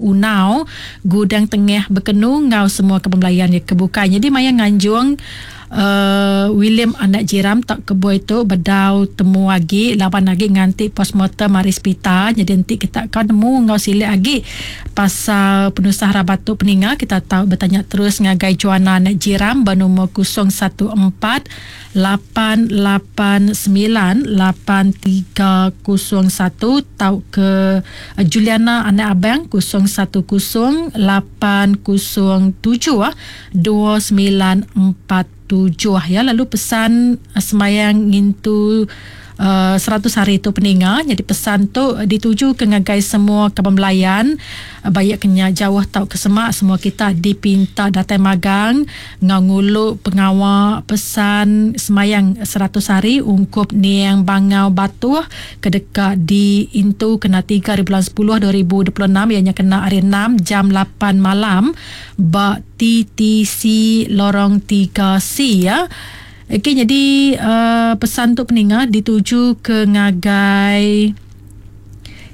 Unau, Gudang Tengah Bekenu enggau semua kaban belayan iya ke bukai. Nyadi maya nganjung uhh William anak Jiram tauka boy tu bedau temu agi laban agi nganti postmortem ari sepital. Nyadi enti kita ka nemu enggau silik agi pasal penusah rabat tu peninga kita tau betanya terus ngagai Joanna anak Jiram ba numur 014 lapan lapan semilan lapan tiga kosong satu tauka Juliana anak Abang 010 lapan kosong tujuh 2947 ya lalu pesan semayang ngintu 100 hari tu peninga nyadi pesan tu dituju ke ngagai semua kaban belayan baik ke nya jauh tauka semak semua kita dipinta datai magang enggau ngulu pengawa pesan semayang 100 hari ungkup Niang Bangau Batuh ke deka diintu kena tiga hari bulan sepuluh 2026 iya nya kena hari enam jam lapan malam ba TTC Lorong tiga C ya. Okey nyadi uh, pesan tu peninga dituju ke ngagai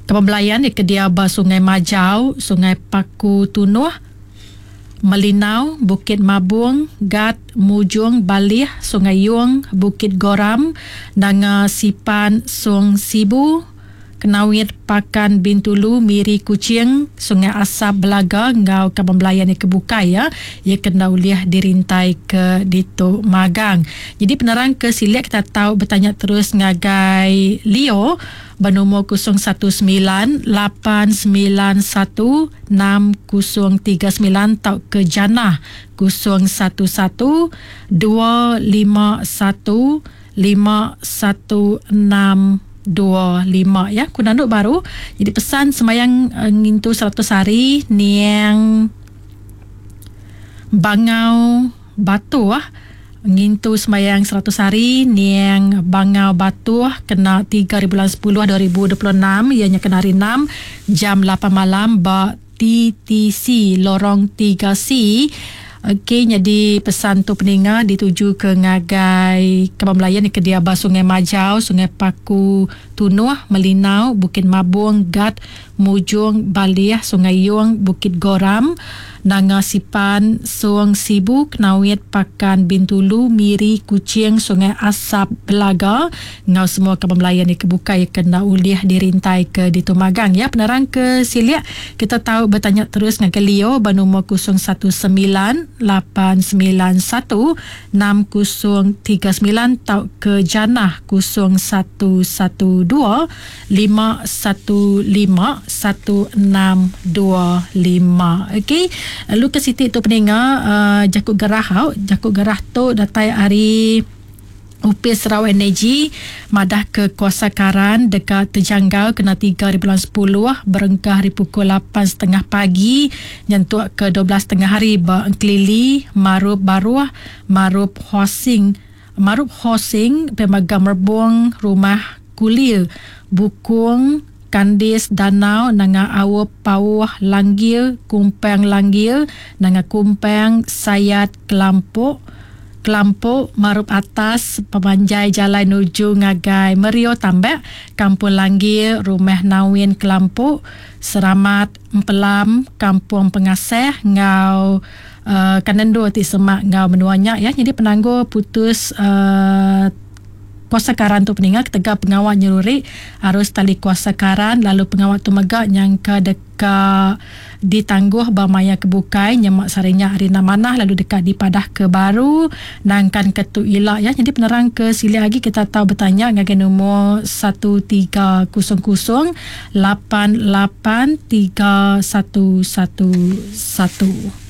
kaban belayan ke dia ba Sungai Majau, Sungai Paku Tunuh, Melinau, Bukit Mabung, Gat, Mujung, Balih, Sungai Yong, Bukit Goram, Nanga Sipan, Song Sibu, Kenawit, Pakan, Bintulu, Miri, Kuching, Sungai Asap, Belaga enggau kaban belayan iya ke bukai iya, iya ke enda ulih dirintai ke ditu magang. Nyadi penerang ke silik kita tau betanya terus ngagai Leo ba numur 019 891 6039 tauka Janah 011 251 51625 ya ku nandu baru jadi pesan sembayang ngintu 100 hari niang Bangau Batuh ngintu sembayang 100 hari niang Bangau Batuh kena 3 hari bulan 10 2026 iya nya kena hari 6 jam 8 malam ba TTC Lorong 3C. Okey nyadi pesan tu peninga dituju ke ngagai kaban belayan ke dia ba Sungai Majau, Sungai Paku Tunuh, Melinau, Bukit Mabung, Gat, Mujung, Balih, Sungai Yong, Bukit Goram, Nanga Sipan, Song, Sibu, Kenawit, Pakan, Bintulu, Miri, Kuching, Sungai Asap, Belaga enggau semua kaban belayan ke bukai ke enda ulih dirintai ke ditu magang ya. Penerang ke silik kita tau betanya terus ngagai Leo ba numur 019 891 6039 tauka Janah 0112 515 1625. Okey. Lalu ke siti tu peninga uh, jaku gerah au. Jaku gerah tu datai ari Opis Sarawak Energy madah ke kuasa karan deka tejanggal kena 3 hari bulan 10 berengkah ari pukul 8.30 pagi nyentuk ke 12.30 hari ba Engkelili, Marup Baruh, Marup Housing, Marup Housing, Pemaga Merbung, Rumah Kulir, Bukung, Kandis, Danau, Nanga Aup, Pauh, Langgir, Kumpang Langgir, Nanga Kumpang, Sayat, Kelampok, Kelampok, Marup Atas, Pemanjai Jalai Nuju ngagai Merio Tambak, Kampung Langgir, Rumah Nawin Kelampok, Seramat, Empelam, Kampung Pengaseh enggau Kanendur ti semak enggau menua nya iya nyadi penanggul putus kuasa karan tu peninga ketegal pengawa nyeruri arus tali kuasa karan lalu pengawa tu mega nyangka deka ditangguh ba maya ke bukai nyema sehari nya hari enda manah lalu deka dipadah ke baru nangkan ke tu ila iya nyadi penerang ke silik agi kita tau betanya ngagai numur 1300 lapan lapan tiga satu satu satu.